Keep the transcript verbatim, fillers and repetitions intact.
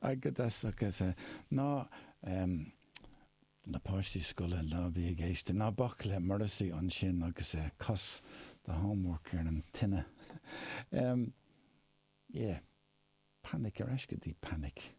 Agus agus ná um, na páistí scoile ná bí ag éisteacht ná bac le Morrissey ansin agus uh, cas the homework ar an tine. um, yeah, Panic ar ais go dtí Panic.